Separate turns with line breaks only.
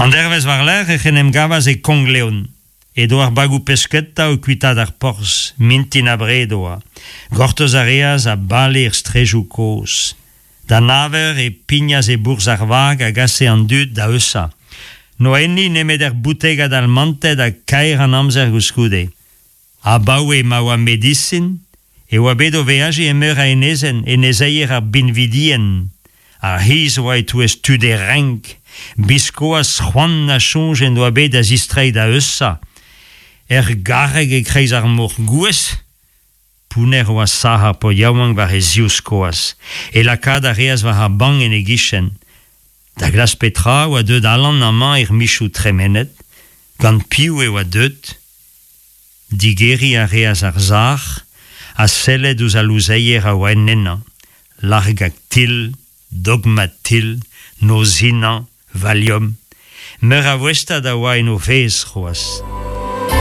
An dervezh war-lerc'h ec'h en em gavas e Konk-Leon. Edo ar bagoù-pesketa o kuitaat ar porzh, mintin abred oa. Gortoz a reas ha bale er straejoù kozh. Da nav eur e pignas e bourzh ar vag a gase an dud da Eusa. N'oa enni nemet ur boutegad almanted ha kaer an amzer goulskoude. Abaoe ma oa medisin e oa bet o veajiñ e meur a enezenn, enezeier ar binvidien. Ar c'hiz oa e-touez tud e renk. Biskoazh c'hoant na soñj en doa bet da zistreiñ da Eusa. Er garreg e-kreiz ar mor gouez? Pounner oa sac'h ar paotr yaouank war e zivskoaz. E lakaat a reas war ar bank en e gichen. Da glask petra oa deuet Alan amañ er michoù tremenet? Gant piv e oa deuet? Digeriñ a reas ar sac'h ha sellet ouzh al louzeier a oa en ennañ, Largactil, Dogmatil, Nozinañ, Valium. Meur a voestad a oa en o fezh c'hoazh.